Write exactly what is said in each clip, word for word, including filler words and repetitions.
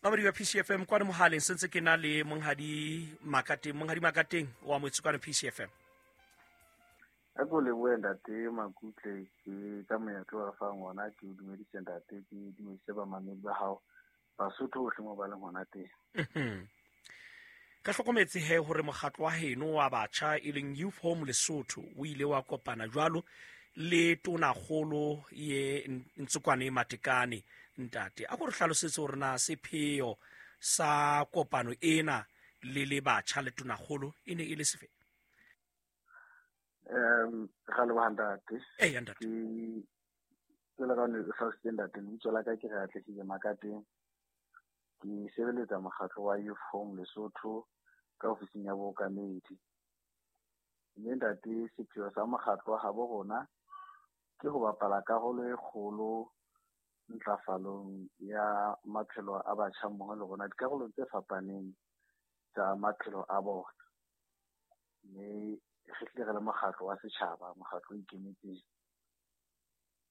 Mamedi wa P C F M kwano mohaleng sentse ke na le Monghadi Makateng. Monghadi Makateng wa moetse kwano P C F M. A ko lebohe ntate Makutle ke ka monyetla wa fang ona, ke o dumedise ntate, ke dumedise bamamedi ba hao Basotho bohle mo ba leng hona teng. Ka hlokometse he hore mokgatlo wa heno wa batjha e leng Youth Home Lesotho o ile wa kopana jwalo le tonakgolo ye Ntsokoane Matekane. Ntate, a ko re hlalosetse hore na sepheo sa kopano ena le le batjha le tonakgolo e ne e le sefe? Um ra leboha ntate. Eya ntate. Ke jwalo ka ne hlalositse ntate, lebitso la ka ke re Atlehile Makateng. Ke sebeletsa mokgatlo wa Youth Home Lesotho ka ofising ya bookamedi. Mme ntate, sepheo sa mokgatlo wa habo rona ke ho bapala karolo e kgolo ntlafalong ya maphelo a batjha mmoho le rona dikarolong tse fapaneng tsa maphelo a bona. Mme re hlile re le mokgatlo wa setjhaba, mokgatlo o ikemetseng.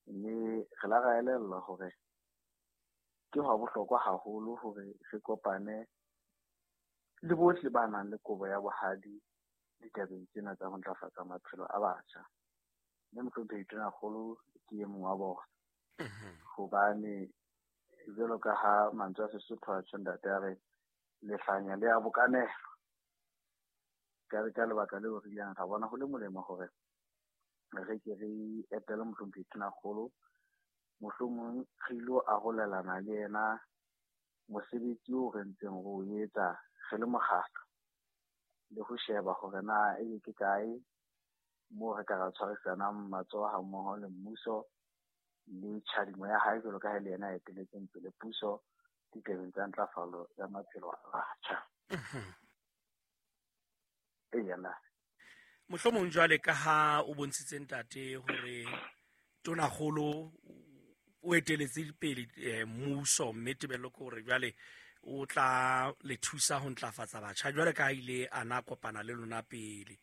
Mme re la ra elellwa hore ke hwa bohlokwa haholo hore re kopane le bohle ba nang le kobo ya bohadi ditabeng tsena tsa ho ntlafatsa maphelo a batjha. Mme mohlomphehi Tonakgolo ke e mong wa bona. Hobane jwalo ka ha mantswe a Sesotho a tjho ntate a re lehlanya le a bokanelwa. Ka re ka lebaka leo re ileng ra bona ho le molemo hore re ke re etele mohlomphehi Tonakgolo, mohlomong re ilo arolelana le yena mosebetsi oo re ntseng re o etsa re le mokgatlo, le ho sheba hore na ebe ke kae moo re ka ra tshwarisanang matsoho ha mmoho le mmuso le tjhadimo ya hae jwalo ka ha le yena a eteletseng pele puso ditabeng tsa ntlafalo ya maphelo a batjha. Eya na. Mohlomong jwale ka ha o bontshitse ntate hore tonakgolo o eteletse pele mmuso, mme tebello ke hore jwale o tla le thusa ho ntlafatsa batjha jwale ka ha ile a na kopana le lona pele.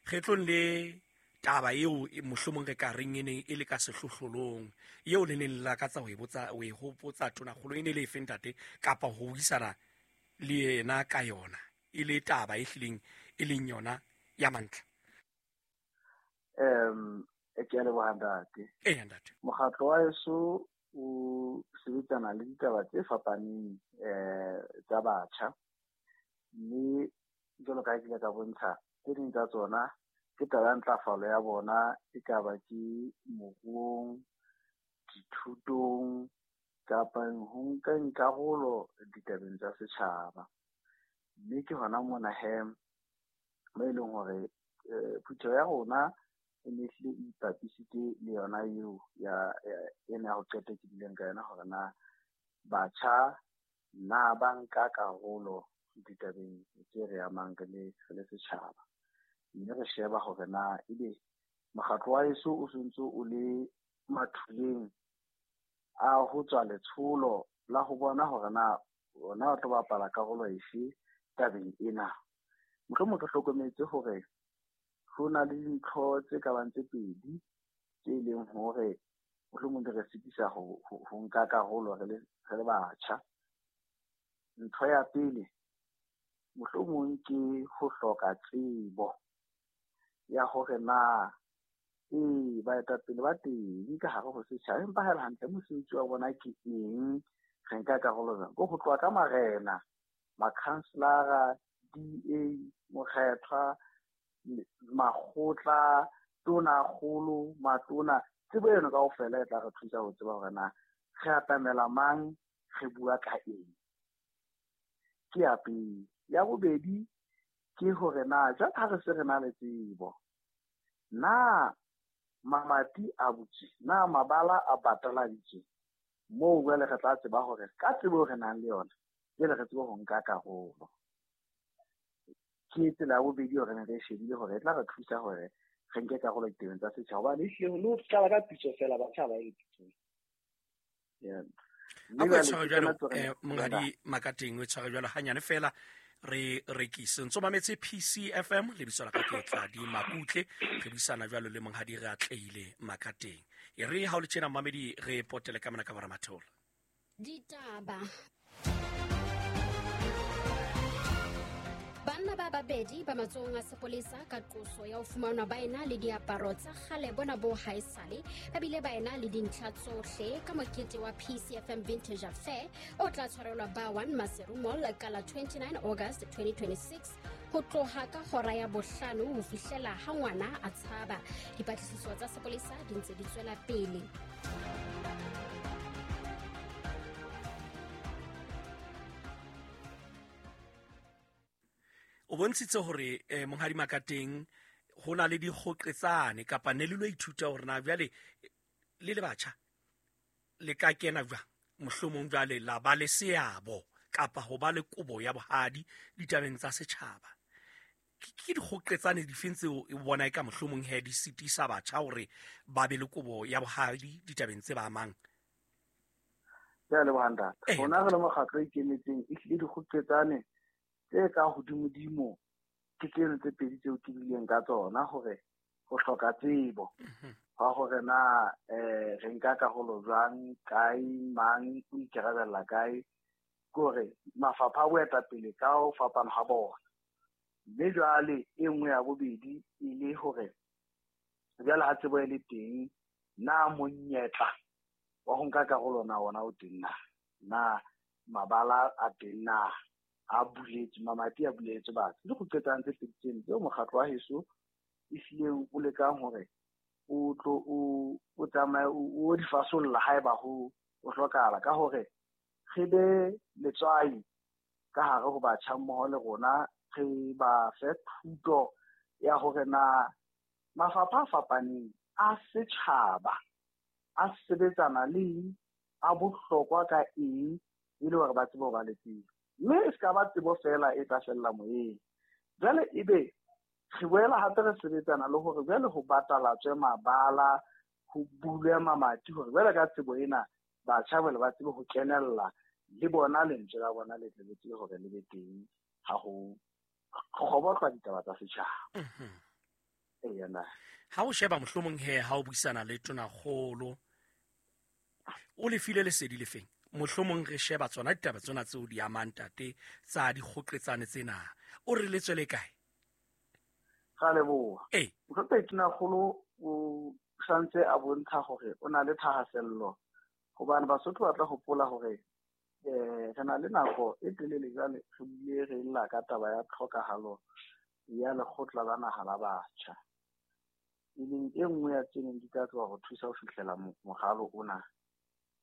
Kgetlong le taba eo mohlomong re ka reng e neng e le ka sehlohlolong eo le neng le lakatsa ho e botsa, ho e hopotsa tonakgolo e ne le efe ntate, kapa ho buisana le yena ka yona e le taba e hlileng e leng yona ya mantlha? Um ke a leboha ntate. Eya ntate. Mokgatlo wa heso o sebetsana le ditaba tse fapaneng eh tsa batjha, mme jwalo ka ha ke ile ka bontsha tse ding tsa tsona ke taba ya ntlafalo ya bona, e ka ba ke moruong, dithutong kapa ho nkeng karolo ditabeng tsa setjhaba. Mme ke hona mona he mo e leng hore phutheho ya rona e ne hlile e ipapisitse le yona eo ya ena ya ho qeta ke bileng ka yona hore na batjha na ba nka karolo ditabeng tse re amang re le re le setjhaba. Mme re sheba hore na ebe mokgatlo wa heso o sontso o le mathuleng a ho tswa letsholo la ho bona hore na ona o tlo bapala karolo efe tabeng ena. Mohlomong re hlokometse hore ho na le dintho tse ka bang tse pedi tse leng hore mohlomong di re sitisa ho ho nka karolo re le re le batjha. Ntho ya pele mohlomong ke ho hloka tsebo ya hore na ee baetapele ba teng ka hare ho setjhaba, empa ha e le hantle mosebetsi wa bona ke eng, re nka karolo jwang? Ke ho tloha ka marena, makhanselara, D A, mokgethwa, makgotla, tonakgolo, matona. Tsebo eno kaofela e tla re thusa ho tseba hore na re atamela mang, re bua ka eng. Ke ya pele. Ya bobedi ke hore na jwale ha re se re na le tsebo, na mamati a butswe, na mabala a bataladitswe, moo jwale re tla tseba hore ka tsebo re nang le yona jwale re tsebe ho nka karolo. Ke tsela ya bobedi hore ne re shebile hore e tla re thusa hore re nke karolo ditabeng tsa setjhaba, hobane ehlile le ho qala ka pitso feela batjha ha ba ye pitsong. Yeah. A ko e tshware jwalo, Monghadi Makateng, o e tshware jwalo hanyane fela re rekise. Ntso mametse P C F M, lebitso la ka ke Tladi Makutle, re buisana jwalo le Monghadi re Atlehile Makateng. E re ha o le tjena mamedi re potele ka mona ka bora matheola. Ditaba. Banna ba babedi ba matsohong a sepolesa ka qoso ya ho fumanwa ba ena le diaparo tsa kgale bona bo haesale, ba bile ba ena le dintlha tsohle ka mokete wa P C F M Vintage Affair o tla tshwarelwa ba one Maseru Mall ka la twenty-nine August twenty twenty-six ho tloha ka hora ya bohlano ho fihlela ha ngwana a tshaba. Dipatlisiso tsa sepolesa di ntse di tswela pele. O bontshitse hore eh, Monghadi Makateng ho na le dikgoqetsane kapa ne le lo ithuta hore na jwale le le batjha le ka kena jwang mohlomong jwale la ba le seabo kapa ho ba le kobo ya bohadi ditabeng tsa setjhaba. Ke dikgoqetsane difeng tseo o bona eka mohlomong he di sitisa batjha hore ba be le kobo ya bohadi ditabeng tse ba amang? Ke a leboha ntate. Rona re le mokgatlo o ikemetseng, ehlile dikgoqetsane tse ka hodimodimo ke tseno tse pedi tseo ke bileng ka tsona, hore ho hloka tsebo hwa hore na eh re nka karolo jwang, kae, mang o ikarabella kae, ke hore mafapha a boetapele ka ho fapana ha bona. Mme jwale e nngwe ya bobedi e le hore jwale ha tsebo e le teng, na monyetla wa ho nka karolo na ona o teng na, na mabala a teng na, a buletswe, mamati a buletswe batho. Ke dikgoqetsane tse pedi tseno tseo mokgatlo wa heso ehlileng o lekang hore o tlo o o tsamaye o di fasolla haeba ho o hlokahala, ka hore re be letswai ka hare ho batjha mmoho le rona, re ba fe thuto ya hore na mafapha a fapaneng a setjhaba a sebetsana le eng, a bohlokwa ka eng, e le hore ba tsebe ho ba le tsebo. Mme e se ka ba tsebo feela e tla fella moyeng. Jwale ebe re boela hape re sebetsana le hore jwale ho batalatswe mabala, ho bulwe mamati hore jwale ka tsebo ena batjha jwale ba tsebe ho kenella le bona, lentswe la bona le tle le tsebe hore le be teng ha ho kgobotlwa ditaba tsa setjhaba. Eya na. Ha o sheba mohlomong he ha o buisana le tonakgolo, o le file lesedi le feng? Mohlomong re sheba tsona ditaba tsona tseo di amang ntate tsa dikgoqetsane tsena, o re le tswele kae? Ra leboha. Ee. MohlomphehI Tonakgolo o santse a bontsha hore o na le thahasello, hobane Basotho ba tla hopola hore eh re na le nako e telele jwale re bile re lla ka taba ya tlhokahalo ya lekgotla la naha la batjha, e leng e nngwe ya tse neng di tla tloha ho thusa ho fihlela moralo ona.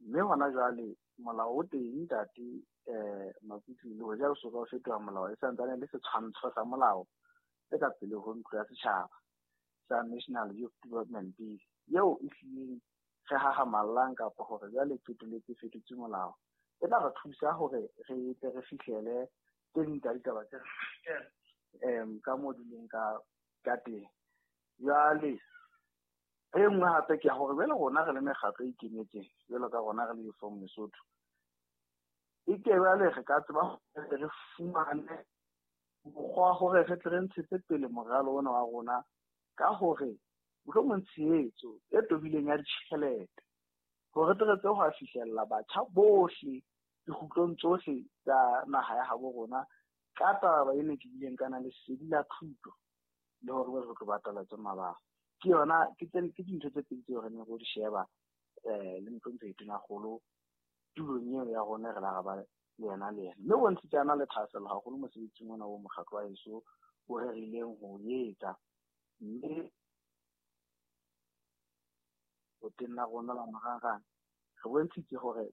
Mme hona jwale molao o teng ntate eh Makutu, le hoja o soka o fetoha molao, e santsane le setshwantsho sa molao se ka pele ho ntlo ya setjhaba sa National Youth Development Bill, eo e hlileng re hahamallang kapa hore jwale qetelletse fetotse molao, e tla re thusa hore re tle re fihlele tse ding tsa ditaba tse em ka moo di leng ka ka teng. Jwale e nngwe hape ke ya hore jwale rona re le mekgatlo e ikemetseng, jwalo ka rona re le Youth Forum Lesotho, e ke jwale re ka tseba hore re fumane mokgwa wa hore re tle re ntshetse pele moralo ona wa rona ka hore mohlomong tshehetso e tobileng ya ditjhelete hore re tle re tsebe ho fihlella batjha bohle dikgutlong tsohle tsa naha ya habo rona ka taba ena ke bileng ka na lesedi la thuto le hore re tlo batalatse mabala. Ke yona ke tse ke dintho tse pedi tseo re neng re di sheba eh le MohlomphehI Tonakgolo tulong eo ya rona re la re ba le yena le yena. Mme bontshitse a na le thahasello haholo mosebetsing ona o mokgatlo wa heso o rerileng ho etsa, mme o teng la rona la marangrang re bontshitse hore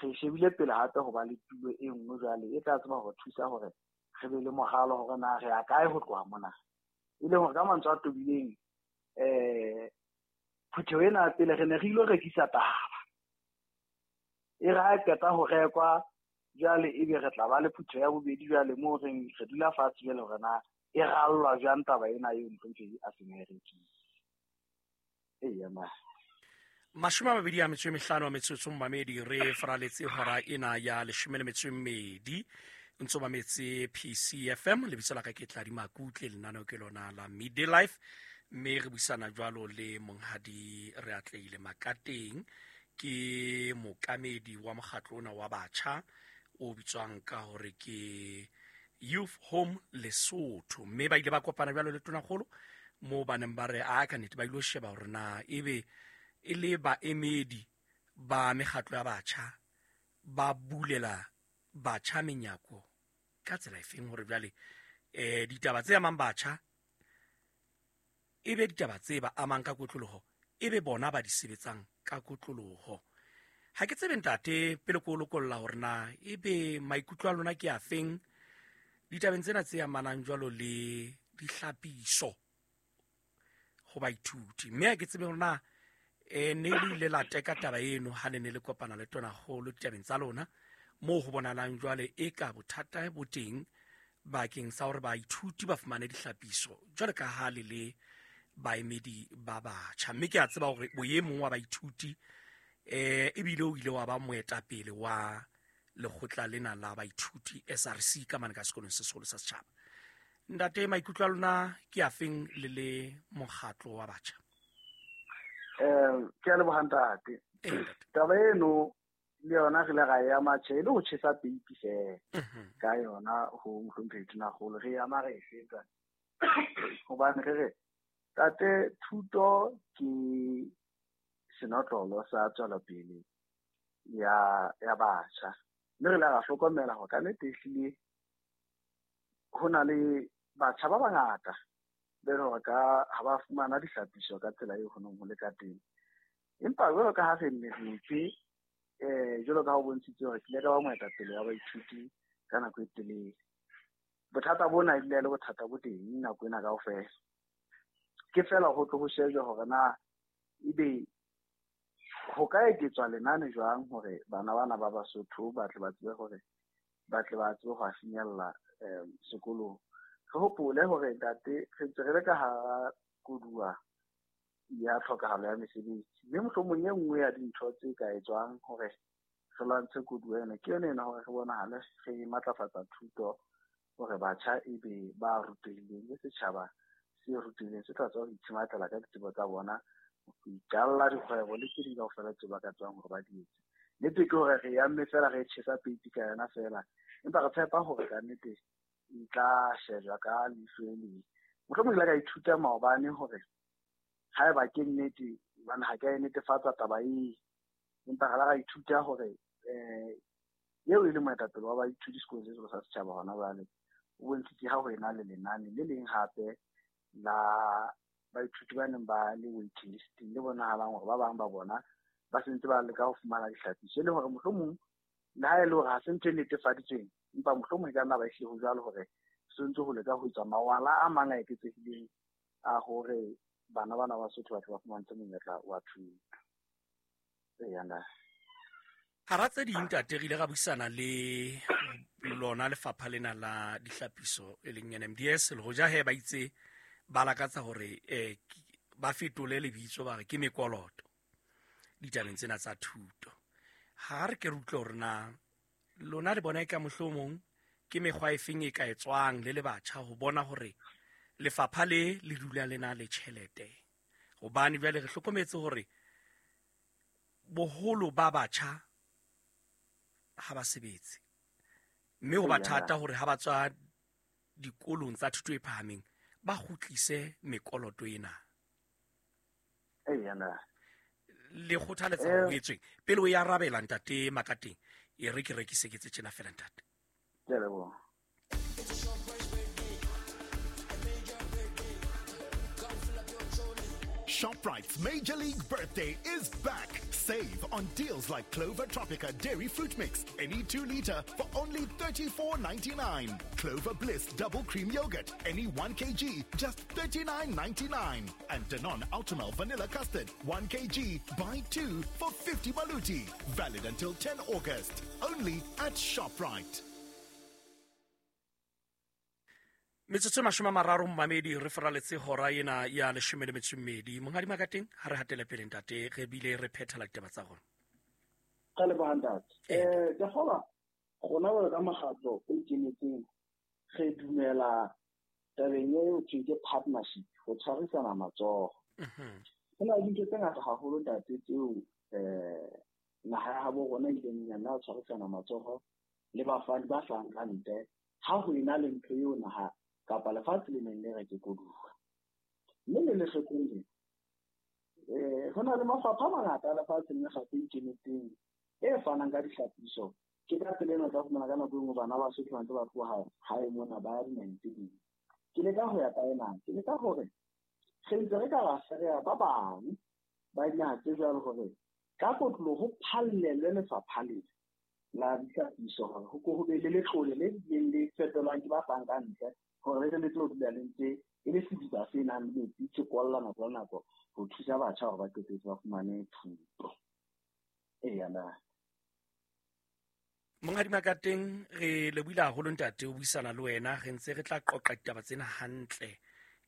re shebile pele hape ho ba le tulo e nngwe jwale e tla tseba hore thusa hore re be le moralo hore na re ya kae ho tloha mona. E leng hore ka mantswe a tobileng eh phutheho ena pele re ne re ilo rekisa taba, e re ha qeta ho rekwa jwale ebe re tla ba le phutheho ya bobedi jwale moo re re dula fatshe jwale hore na e rallwa jwang taba ena eo MohlomphehI a seng a e rekile. Eya ma. Mashome a mabedi a metso e mehlano a metsotso momamedi, re faraletse hora ena ya leshome le metso e mmedi ntso mametse P C F M. Lebitso la ka ke Tladi Makutle, lenaneo ke lona la Midday Life, mme re buisana jwalo le Monghadi Reatleile Makateng, ke mookamedi wa mokgatlo ona wa batjha o bitswang ka hore ke Youth Home Lesotho. Mme ba ile ba kopana jwalo le tonakgolo moo ba neng ba re a ka nnete ba ilo sheba hore na ebe e le baemedi ba mekgatlo ya batjha ba bulela batjha menyako ka tsela efeng hore jwale eh ditaba tse amang batjha ebe ditaba tse ba amang ka kotloloho ebe bona ba di sebetsang ka kotloloho. Ha ke tsebe ntate pele ko lokolla hore na ebe maikutlo a lona ke a feng ditabeng tsena tse amanang jwalo le dihlapiso ho baithuti. Mme ha ke tsebe hore na eh ne le ile la teka taba eno ha le ne le kopana le tonakgolo ditabeng tsa lona moo ho bonalang jwale e ka bothata bo teng bakeng sa hore baithuti ba fumane dihlapiso jwale ka ha le le baemedi ba batjha. Mme ke a tseba hore o e mong wa baithuti eh ebile o ile wa ba moetapele wa lekgotla lena la baithuti S R C ka mane ka sekolong se seholo sa setjhaba. Ntate, maikutlo a lona ke a feng le le mokgatlo wa batjha? Eh ke a leboha ntate. Taba eno le yona re ile ra e ama tjhe e le ho tjhesa peipi feela ka yona ho mohlomphehi Tonakgolo, re ama re e fetsa hobane re re tate thuto ke senotlolo sa tswelopele ya ya batjha. Mme re ile ra hlokomela hore ka nnete ehlile ho na le batjha ba bangata be le hore ka ha ba fumana dihlapiso ka tsela eo ho neng ho le ka teng. Empa jwalo ka ha re nne re itse eh jwalo ka ha ho bontshitse hore ke ile ka ba moetapele wa baithuti ka nako e telele. Bothata bona ebile le bothata bo teng nako ena kaofela. Ke fela ho tlo ho shejwa hore na ebe ho ka eketswa lenane jwang hore bana bana ba Basotho ba tle ba tsebe hore ba tle ba tsebe ho a finyella um sekolong. Re hopole hore ntate re ntse re le ka hara koduwa ya tlhokahalo ya mesebetsi, mme mohlomong e nngwe ya dintho tse ka etswang hore re lwantshe koduwa ena ke yona ena hore re bonahale re matlafatsa thuto hore batjha ebe ba rutehileng le setjhaba se rutehileng se tla tswa ho itshematlela ka ditsebo tsa bona, ho iqalla dikgwebo le tse ding kaofela tseo ba ka tswang hore ba di etse. Nnete ke hore re amme fela re tjhesa peipi ka yona fela, empa re tshepa hore ka nnete e tla shejwa ka leihlo le leng. Mohlomong ke ile ka ithuta maobane hore haeba ke nnete, hobane ha ke a e netefatsa taba ee, empa re la ra ithuta hore eh eo e le moetapele wa baithuti sekolong se seholo sa setjhaba hona jwale o bontshitse ha ho ena le lenane le leng hape la baithuti ba neng ba le waiting list-ing le bonahalang hore ba bang ba bona ba sentse ba leka ho fumana dihlapiso, e le hore mohlomong le ha e le hore ha se ntho e netefaditsweng, empa mohlomong e ka nna ba ehlile ho jwalo hore se ntse ho leka ho etswa mawala a mang a eketsehileng a hore bana bana ba Basotho ba tle ba fumantshwe monyetla wa thuto. Eya ntate. Hara tse ding ntate, re ile ra buisana le lona lefapha lena la dihlapiso e leng N M D S, le hoja he ba itse ba lakatsa hore eh ba fetole lebitso ba re ke mekoloto ditabeng tsena tsa thuto. Ha re ke re utlwe hore na lona le bona e ka mohlomong ke mekgwa e feng e ka etswang le le batjha ho bona hore lefapha le le dula le na le tjhelete, hobane jwale re hlokometse hore boholo ba batjha ha ba sebetse, mme ho ba thata hore ha ba tswa dikolong tsa thuto e phahameng ba kgutlise mekoloto ena. Eya na Le kgothaletsa ho etsweng pele o ya arabela ntate Makateng, e re ke rekise ke tse tjena fela ntate. Ke a leboha. ShopRite's Major League Birthday is back. Save on deals like Clover Tropica Dairy Fruit Mix, any two liter for only thirty-four ninety-nine. Clover Bliss Double Cream Yogurt, any one kilogram, just thirty-nine ninety-nine. And Danone Ultimel Vanilla Custard, one kilogram, buy two for fifty maluti. Valid until tenth August. Only at ShopRite. Metsotso e mashome a mararo mmamedi re feraletse hora ena ya leshome le metso e mmedi. Monghadi Makateng, ha re hatele pele ntate, re bile re phethela ditaba tsa rona. Ka leboha ntate. Eh ke kgolwa rona jwalo ka mokgatlo o ikemetseng re dumela tabeng eo thweng ke partnership, ho tshwarisana matsoho. Ho na le dintho tse ngata haholo ntate tseo eh naha ya habo rona e ileng ya nna tshwarisana matsoho le bafani ba hlahang ka ntle Ha ho ena le ntho eo naha kapa lefatshe le neng le re ke koduwa. Mme le lehlokong lena, eh ho na le mafapha a mangata a lefatshe le mekgatlo e ikemetseng e fanang ka dihlapiso. Ke ka tsela ena o tla fumana ka nako e nngwe bana ba Basotho ba ntse ba tloha hae mona ba ya dinaheng tse ding. Ke leka ho ya kae na? Ke leka hore re ntse re ka ra fereha ba bang ba dinaha tse jwalo hore ka kotloloho ho phallelwe lefapha lena la dihlapiso hore ho ko ho be le letlole le bileng le fetolwang ke ba fang ka ntle hore le tle le tlo dula le ntse e le sediba se nang le metsi se kwalla nako le nako ho thusa batjha hore ba qetetse ba fumane thuto. Eya na. Monghadi Makateng, re lebohile haholo ntate ho buisana le wena. Re ntse re tla qoqa ditaba tsena hantle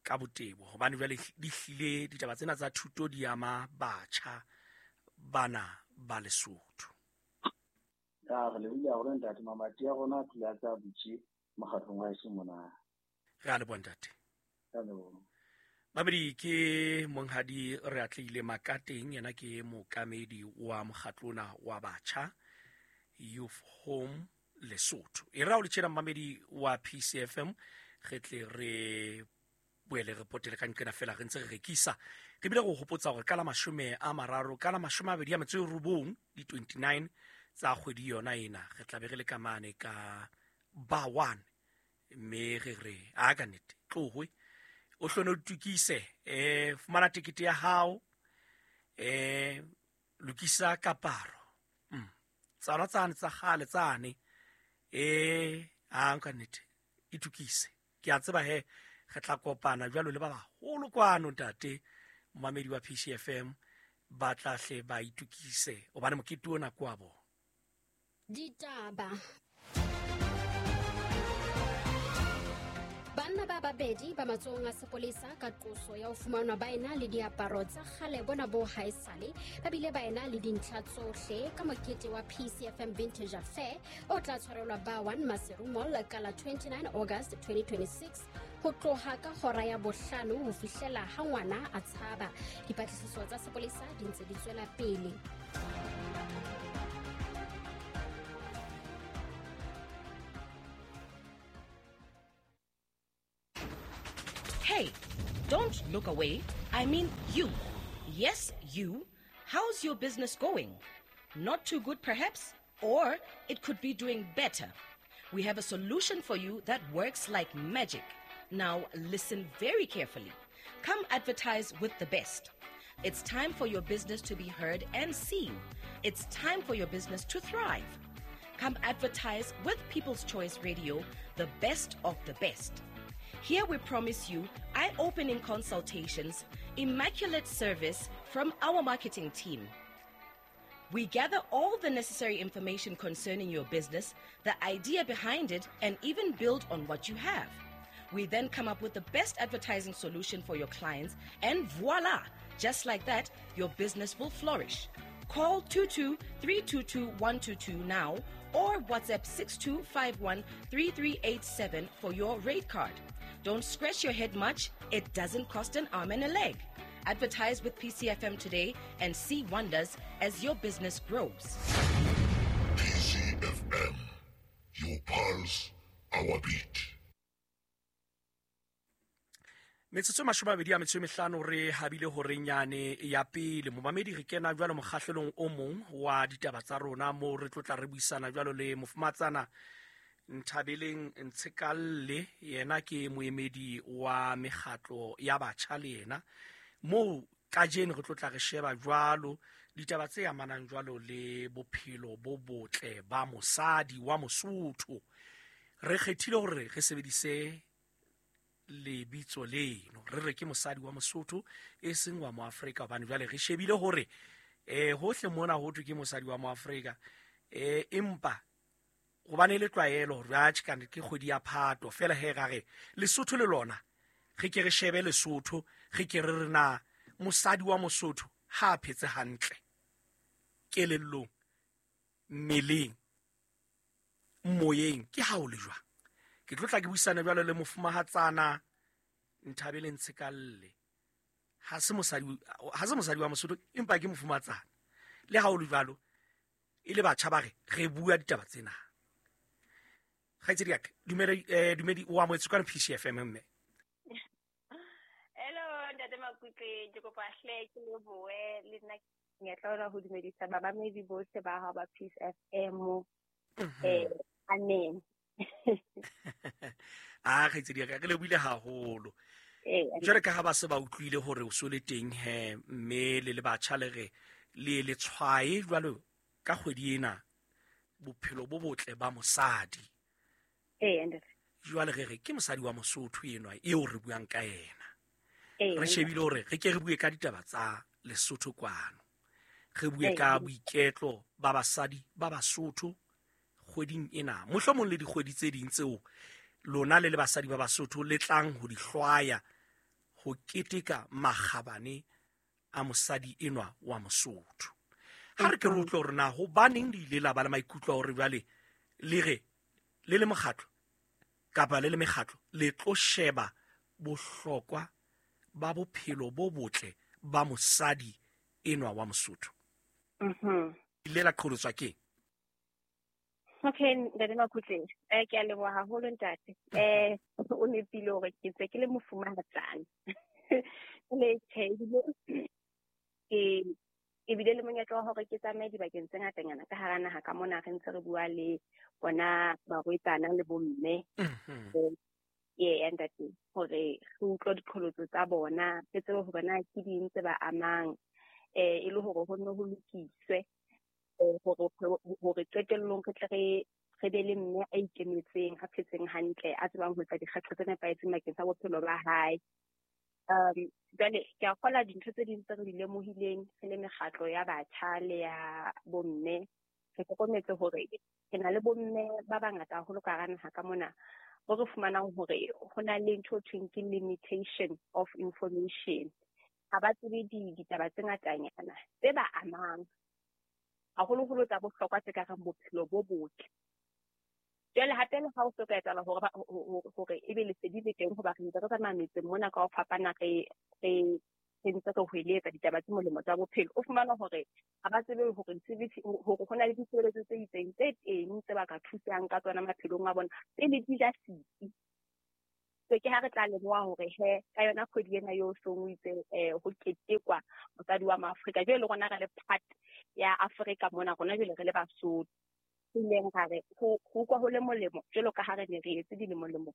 ka botebo hobane jwale di hlile ditaba tsena tsa thuto di ama batjha bana ba Lesotho. Ya re lebohile haholo ntate, mamati a rona a phela tsa butse mokgatlong wa heso mona. Re a leboha ntate. Ka leboha. Mamedi ke Monghadi Reatleile Makateng, yena ke mookamedi wa mokgatlo ona wa batjha Youth Home Lesotho. E ra o le tjena mamedi wa P C F M, re tle re boele re potele ka nqena fela re ntse re rekisa. Re bile go hopotsa hore ka la mashome a mararo ka la mashome a mabedi a metso e robong di twenty-nine tsa kgwedi yona ena re tla be re le ka mane ka ba one, mme re re a ka nnete tlohwe o hlone o itukise, eh fumana tekete ya hao, eh lokisa kaparo mm tsana tsane tsa kgale tsane, eh a nka nnete itukise. Ke a tseba he re tla kopana jwalo le ba baholo kwano ntate momamedi wa P C F M ba tla hle ba itukise hobane mokete ona kwa bo. Ditaba. Banna ba babedi ba matsohong a sepolesa ka qoso ya ho fumanwa ba ena le diaparo tsa kgale bona bo haesale ba bile ba ena le dintlha tsohle ka mokete wa P C F M Vintage Affair o tla tshwarelwa ba one Maseru Mall ka la twenty-nine August twenty twenty-six ho tloha ka hora ya bohlano ho fihlela ha ngwana a tshaba. Dipatlisiso tsa sepolesa di ntse di tswela pele. Hey, don't look away. I mean you. Yes, you. How's your business going? Not too good, perhaps? Or it could be doing better. We have a solution for you that works like magic. Now, listen very carefully. Come advertise with the best. It's time for your business to be heard and seen. It's time for your business to thrive. Come advertise with People's Choice Radio, the best of the best. Here we promise you eye-opening consultations, immaculate service from our marketing team. We gather all the necessary information concerning your business, the idea behind it, and even build on what you have. We then come up with the best advertising solution for your clients, and voila! Just like that, your business will flourish. Call two two three two two one two two now or WhatsApp six two five one three three eight seven for your rate card. Don't scratch your head much. It doesn't cost an arm and a leg. Advertise with P C F M today and see wonders as your business grows. P C F M, your pulse, our beat. Metsotso e mashome a mabedi a metso e mehlano re habile horeng yane ya pele. Momamedi re kena jwalo mokgahlelong o mong wa ditaba tsa rona moo re tlo tla re buisana jwalo le mofumatsana Nthabeleng Ntshekalle, yena ke moemedi wa mekgatlo ya batjha le yena. Moo kajeno re tlo tla re sheba jwalo ditaba tse amanang jwalo le bophelo bo botle ba mosadi wa Mosotho. Re kgethile hore re sebedise lebitso leno, re re ke mosadi wa Mosotho e seng wa Moafrika, hobane jwale re shebile hore eh hohle mona ho thwe ke mosadi wa Moafrika, eh empa hobane le tlwaelo hore atjhe ka ke kgwedi ya Phato fela he ra re Lesotho le lona re ke re shebe Lesotho, re ke re re na mosadi wa Mosotho ha a phetse hantle kelellong, mmeleng, moyeng, ke ha o le jwang. Ke tlo tla ke buisana jwalo le mofumahatsana Nthabeleng Ntshekalle. Ha se mosadi, ha se mosadi wa Mosotho empa ke mofumahatsana. Le ha o le jwalo e le batjha ba re re bua ditaba tsena. Kgaitsedi ya ka, dumela eh dumedi o amohetswe ka P C F M mme. Hello ntate Makutle, ke kopa hle ke lebohe le nna ke tla ho dumedisa babamedi bohle ba hao ba P C F M. Eh amen. Ah kgaitsedi ya ka, re lebohile haholo. Jwale ka ha ba se ba utlwile hore o so le teng he, mme le le batjha le re le le tshwae jwalo ka kgwedi ena bophelo bo botle ba mosadi. Eh ntate. Jwale re re ke mosadi wa Mosotho enwa eo re buang ka yena. Re shebile hore re ke re bue ka ditaba tsa Lesotho kwano. Re bue ka boiketlo ba basadi ba Basotho kgweding ena. Mohlomong le dikgwedi tse ding tseo lona le le basadi ba Basotho le tlang ho di hlwaya ho keteka makgabane a mosadi enwa wa Mosotho. Ha re ke re utlwe hore na hobaneng le ile la ba le maikutlo a hore jwale le re le le mokgatlo kapa le le mekgatlo le tlo sheba bohlokwa ba bophelo bo botle ba mosadi enwa wa Mosotho. Mhm. Ile la qholotswa ke? Okay, ntate Makutle, eh ke a leboha haholo ntate. Eh o nepile hore ke ntse ke le mofumahatsana. Le tjhe ke ebile le monyetla wa hore ke tsamaye dibakeng tse ngatanyana ka hara naha ka mona re ntse re bua le bona barwetsana le bomme. Mhm. Ee ntate, hore re utlwe diqholotso tsa bona, re tsebe hore na ke ding tse ba amang, eh e le hore ho nne ho lokiswe hore hore qetellong re tle re re be le mme a ikemetseng, a phetseng hantle, a tsebang ho etsa dikgetho tse nepahetseng bakeng sa bophelo ba hae. Um jwale ke a kgola dintho tse ding tse re di lemohileng re le mekgatlo ya batjha le ya bomme. Re hlokometse hore re na le bomme ba bangata haholo ka hara naha ka mona, bo re fumanang hore ho na le ntho e thweng ke limitation of information. Ha ba tsebe ditaba tse ngatanyana tse ba amang, haholoholo tsa bohlokwa tse ka reng bophelo bo botle. Jwale hape le ha o so ka etsahala hore hore ebe lesedi le teng, hoba re ntse re tsamaya metseng mona ka ho fapana, re re re ntse re hweletsa ditaba tse molemo tsa bophelo. O fumana hore ha ba tsebe hore disebetsi hore ho na le ditshebeletso tse itseng tse teng tse ba ka thusang ka tsona maphelong a bona pele di ja setsi. So ke ha re tla leboha hore he ka yona kgwedi ena eo song o itse eh ho ketekwa mosadi wa Maafrika. Jwale le rona re le part ya Afrika mona, rona jwale re le Basotho, ileng ra re ho utlwa ho le molemo jwalo ka ha re ne re etse dilemolemo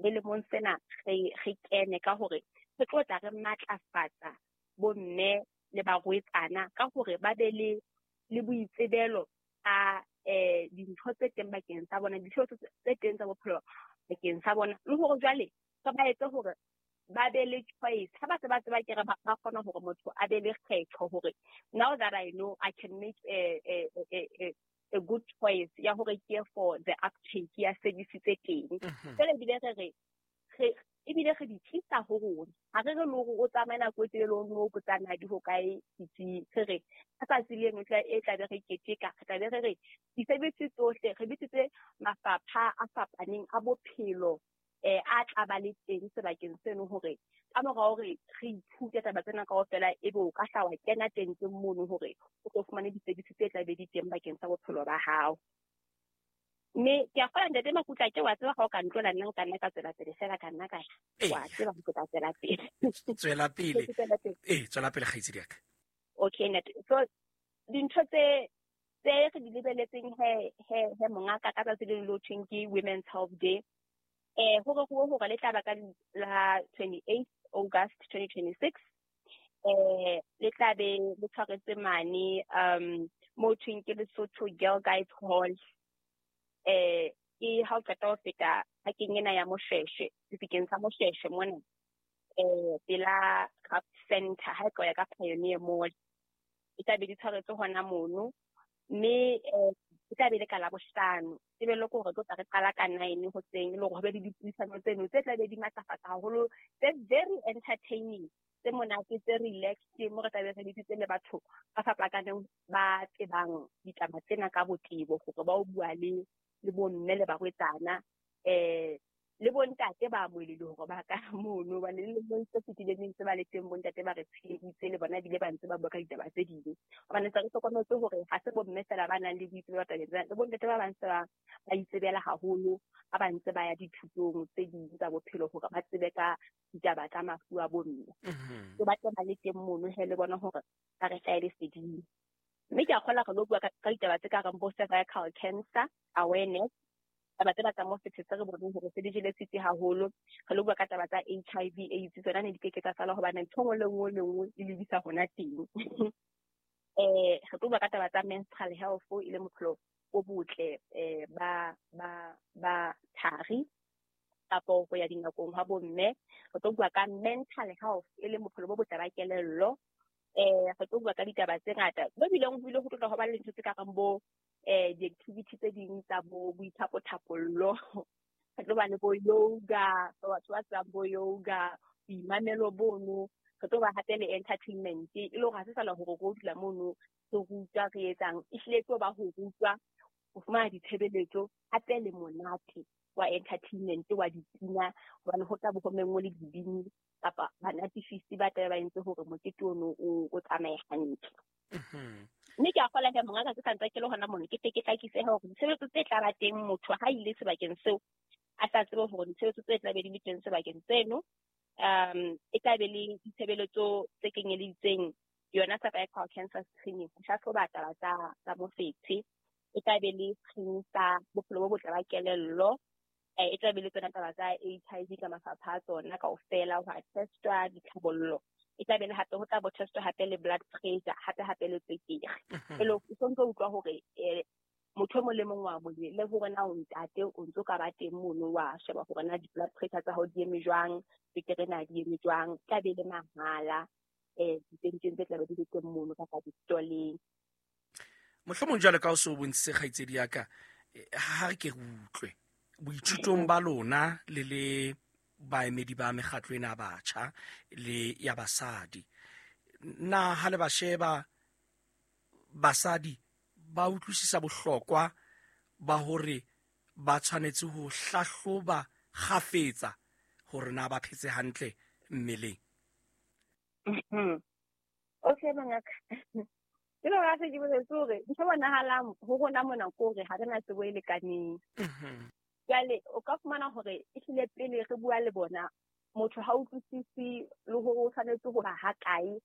dilemong sena, re re kene ka hore re tlo tla re matlafatsa bomme le barwetsana ka hore ba be le le boitsebelo a eh dintho tse teng bakeng sa bona, dintho tse teng tsa bophelo bakeng sa bona, le hore jwale re ba etse hore ba be le choice. Ha ba se ba tseba ke re ba kgona hore motho a be le kgetho hore now that I know I can make a a a a good choice ya hore ke for the uptake ya service tse teng. Jwale ebile re re re ebile re di tlisa ho rona. Ha re re le hore o tsamaye nako e telele o no botsana di ho kae ditsing. Re re ka tsatsi leno tla e tla be re keteka, re tla be re re di-service tsohle re bitsitse mafapha a fapaneng a bophelo eh a tla ba le teng sebakeng seno, hore ka mora hore re ithute taba tsena kaofela, ebe o ka hla wa kena teng teng mono hore o tlo fumane di-service tse tla be di teng bakeng sa bophelo ba hao. Mme ke a kgola ntate Makutla, ke wa tseba ha o ka ntlola nna nka nna ka tswela pele fela, ka nna ka ya wa tseba ho ka tswela pele. Tswela pele. Eh tswela pele kgaitsedi ya ka. Okay ntate. So dintho tse tse re di lebeletseng he he he mongaka ka tsatsi le le thweng ke Women's Health Day, eh hore ho hore le tla ba ka la twenty-eighth August twenty twenty-six, eh le tla be le tshwaretse mane um mo thweng ke Lesotho Girl Guides Hall. Eh ke ha o qeta ho feta pakeng ena ya Moshweshwe, sebakeng sa Moshweshwe mona, eh pela Craft Center ha e tloya ka Pioneer Mall. E tla be di tshwaretse hona mono, mme eh e tla be le ka Labohlano. Tebello ke hore tlo tla re qala ka nine hoseng, e le hore ho be le dipuisano tseno tse tla be di matlafatsa haholo, tse very entertaining, tse monate, tse relaxed, mo re tla be re bitsitse le batho ba fapakaneng ba tsebang ditaba tsena ka botebo hore ba o bua le le bomme le barwetsana eh Le bontate ba amohelehile hore ba ka mono, hobane le lemong tse fetileng ntse ba le teng bontate ba re tsheheditse le bona ebile ba ntse ba bua ka ditaba tse ding. Hobane se re hlokometse hore ha se bomme feela ba nang le boitsebelo tabeng tsena, le bontate ba bang se ba ba itsebela haholo ha ba ntse ba ya dithutong tse ding tsa bophelo hore ba tsebe ka ditaba tsa mafu a bomme. Mhm. So ba tle ba le teng mono he le bona hore ba re hlahe leseding. Mme ke a kgolwa re lo bua ka ka ditaba tse ka reng bo cervical cancer awareness, taba tsena tsa mofetshe tse re boneng hore se di jele setsi haholo. Re lo bua ka taba tsa H I V AIDS, tsona ne di keke tsa sala hobane ntho e nngwe le nngwe le nngwe e lebisa hona teng. Eh, re tlo bua ka taba tsa menstrual health, e leng bophelo bo botle, eh, ba, ba, ba thari kapo ho ya dingakong hwa bomme. Re tlo bua ka mental health, e leng bophelo bo botle ba kelello. Eh, re tlo bua ka ditaba tse ngata. Bo bileng ho bile ho tlotla ho ba le dintho tse ka reng bo, eh, di-activity tse ding tsa bo boithapotapollo. Re tlo ba le bo yoga, for batho ba tsebang bo yoga, boimamelo bono. Re tlo ba hape le entertainment, e le hore ha se sala hore re dula mono re rutwa re etsang. Ehlile e tlo ba ho rutwa, ho fumana ditshebeletso, hape le monate wa entertainment wa dipina, hobane ho tla bo ho menngwe le dibini kapa banatifisi ba tlabe ba entse hore mokete ono o, o tsamaye hantle. Mhm. Mme ke a kgolwa he mongaka ke sa ntse ke le hona mono, ke tle ke hlakise hore ditshebeletso tse tla ba teng motho ha ile sebakeng seo a tla tsebe hore ditshebeletso tse tla be di le teng sebakeng seno, um, e tla be le ditshebeletso tse kenyeleditseng yona cervical cancer screening, ho hlahloba taba tsa, tsa mofetshe, e tla be le screening sa bophelo bo botle ba kelello, eh, e tla be le tsona taba tsa H I V ka mafapha a tsona kaofela, ho a testwa ditlhabollo, e tla be le hape ho tla bo testwa hape le blood pressure, hape hape le tswekere. Mhm. E le hore o sontso o utlwa hore, eh, motho e mong le mong wa mo le hore na o ntate o ntso ka ba teng mono wa sheba hore na di-blood pressure tsa hao di eme jwang, tswekere na di eme jwang, e tla be le mahala, eh, ditenteng tse tla be di le teng mono kapa di-stoleng. Mohlomong jwalo ka o so bontshitse kgaitsedi ya ka, eh, ha re ke re utlwe boithutong ba lona le le baemedi ba mekgatlo ena ya batjha le ya basadi, na ha le ba sheba basadi ba utlwisisa bohlokwa ba hore ba tshwanetse ho hlahloba kgafetsa hore na ba phetse hantle mmeleng? Mhm. Okay, mongaka. Ke le hore ha se ke boletse hore ntho e bonahalang ho rona mona ke hore ha re na tsebo e lekaneng. Mhm. Jwale o ka fumana hore ehlile pele re bua le bona, motho ha utlwisisi le hore o tshwanetse ho ba ha kae